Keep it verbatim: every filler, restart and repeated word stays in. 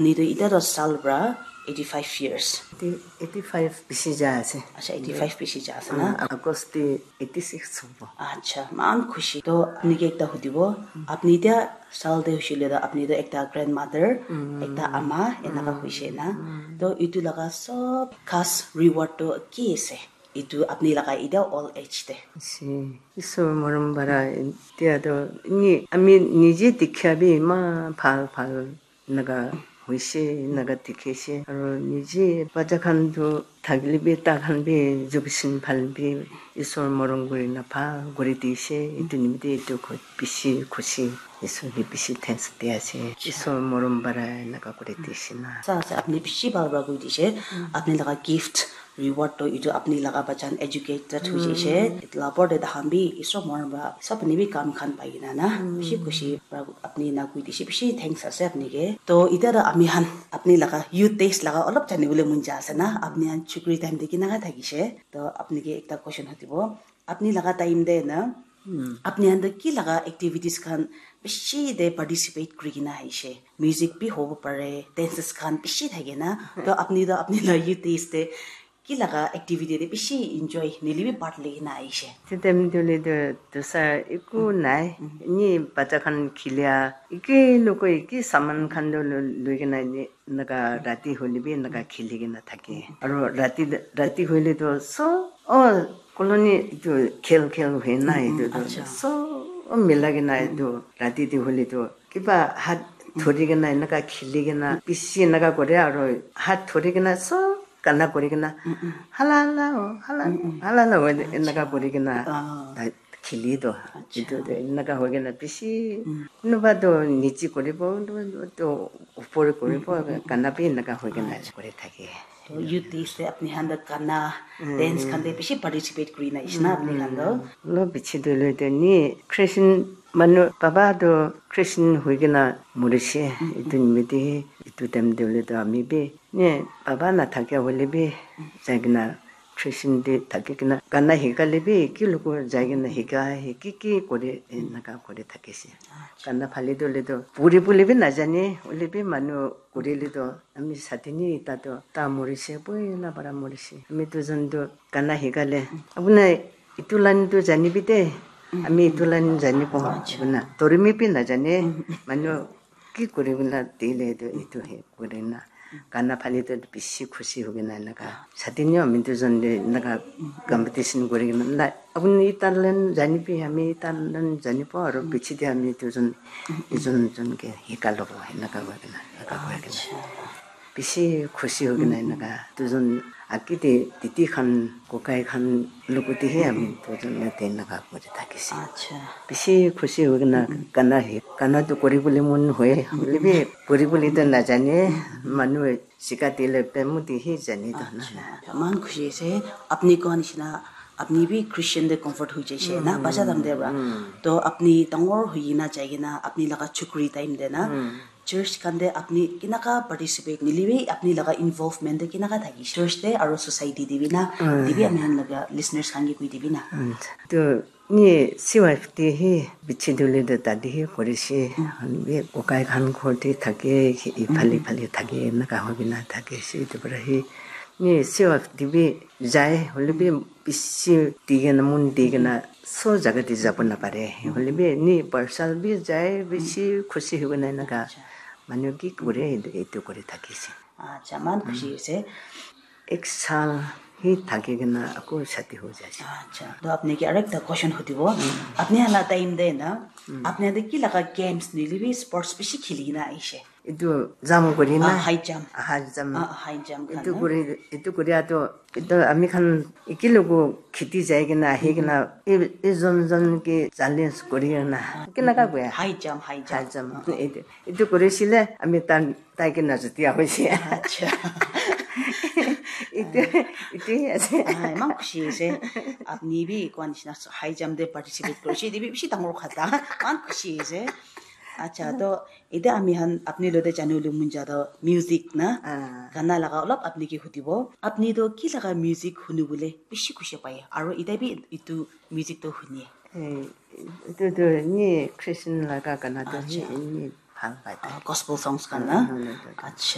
Apni tu ita tu sal pra eighty five years. Eighty five bishi ja ase. Acha, eighty five bishi ja ase na? August te eighty six hobo. Acha, man khushi. To apni ke ekta hudibo. Apni tia sal te hushile to apni to ekta grandmother, ekta ama, enaka huishe na. To itu laga sob khas reward to ki ase? Itu apni laga ita old age te. Ase. Isor morom bara tia to ni ami nije dikha bi eman bhal bhal naga hoise, naga dikhi ase. Aru nije bacha khan tu thakile bi, ta khan bi education bhal bi, Isor morom kuri na bhal kuri dise. Etu nimite etu koi bishi khushi, Isor ke bishi thanks di ase. Isor morom bara naga kuri dise na. Sa ase, apni bishi bhal para koi dise. Apni laga gift, reward to etu apni laga bacha khan educated hoi jaise. Etu la opor te tahan bi Isor morom para sab apni bi kam khan pai kena na. Bishi khushi para apni na koi dise, bishi thanks ase apni ke. To ita to ami khan apni laga youth days laga olop jani bole mon ja ase na, apni khan chukri time te kinaka thakise. To apni ke ekta question hudibo, apni laga time te na, apni khan to ki laga activities khan bishi te participate kuri kena aise? Music bi hobo pare, dances khan bishi thake na. To apni to apni laga youth days te ki laga activity te bishi enjoy nili bi part loi kena aise? Te time te hoile to dosa eku nai. Ni bacha khan khilia, eki lokoi eki saman khan to lo-, loi kena ni, naga rati hoile bi naga khili kena thake. Aru rati, rati hoile to so, oh, colony tu khel khel hoi na, etu to so mila kena etu rati te hoile to kiba hat thori kena enaka khili kena bishi enaka kore, aru hat thori kena so gana kuri kena, "Hala, hala, oh, hala, hala, hala," oh, enaka kuri kena tai khili to. Etu to enaka hoi kena bishi, kunuba to niche kuribo, kunuba to upor kuribo, gana bi enaka hoi kena kuri thake. To youth days te apni khan to gana, dance khan te bishi participate kuri na ase na apni khan to? Lo bichi to lo to ni Christian manu, baba to Christian hoi kena morise. Etu nimite etu time te hoile to ami bi ne, baba na thakia hoile bi jai kena Christian te thaki kena gana hikale bi ki loko jai kena hika, hiki ki kore, enaka kore thakise. Gana phale to hoile to puri bole bi najane, hoile bi manu kurile to ami sati ni ita to ta morise, poila para morise. Ami dujon to gana hikale, "Apuni etu line to janibi de, ami etu line janibo," apuni dorimi bi najane, manu ki kuri kena dile to etu he kuri na gana phale to bishi khushi hoi kena enaka. Sati ni ami dujon de enaka competition kuri kena la, "Apuni ita line janibi, ami ita line janibo, aru piche de ami dujon, ijon ijon ke hika lobo," enaka hoi kena, enaka hoi kena. Bishi khushi hoi kena enaka. Dujon age te didi khan, kokai khan logote he ami dujon yate enaka kuri thakise. Bishi khushi hoi kena gana he, gana to kuri bole mon hoye, hoile bi kuri bole to najane, manu shika dile pe muti he jane to na. Eman khushi ase, apni koa nishina, apni bi Christian te convert hoi jaise na, bacha time te para. To apni dangor hoi kena jai kena, apni laga chukri time te na, church khan te apni kinaka participate nili bi apni laga involvement te kinaka thaki church te aru society te bi na, te bi ami khan laga listeners khan ke koi dibi na. To ni C Y F te he bichi dole to tate he korise. Bi kokai khan ghor te thake, iphale iphale thake, enaka hoi kena thakise. Etu para he ni C Y F te bi jai, hoile bi bishi di kena, mon di kena, so jaga te jabo napare. Hoile bi ni parcel bi jai, bishi khushi hoi kena enaka manu ki kore, etu, etu kuri thakise. Acha, eman khushi ase. Ek saal hi thaki kena ako shadi ho jai. Acha, to apni ke aru ekta question hudibo. Apni khan la time te na, apni khan te ki laga games nili bi sports bishi khili kena aise? Etu jump kuri na. Ah, high jump. Ah, high jump. Ah, high jump khan etu na. Kuri, etu kuri ato, etu ami khan eki logo kheti jai kena, ahi kena, e, e jon jon ke challenge kuri kena. Kinaka koi? High jump, high jump. High jump. Etu, etu kuri sile, ami tan, tai kena jutia hoise. Acha. Etu, etu hi ase. Ah, eman khushi ase. Apni bi koa nishina high jump te participate korise, etu bi bishi dangor khata. Eman khushi ase. Acha, to Etiya ami khan apni logote janibo mon jai toh music na, gana laga olop apni ke hudibo. Apni toh ki laga music hunibole bishi khushi pai? Aru etiya bi etu music toh hune? Eh, etu toh ni Christian laga gana toh hi ni bhal pai ta. Gospel songs khan na? Acha.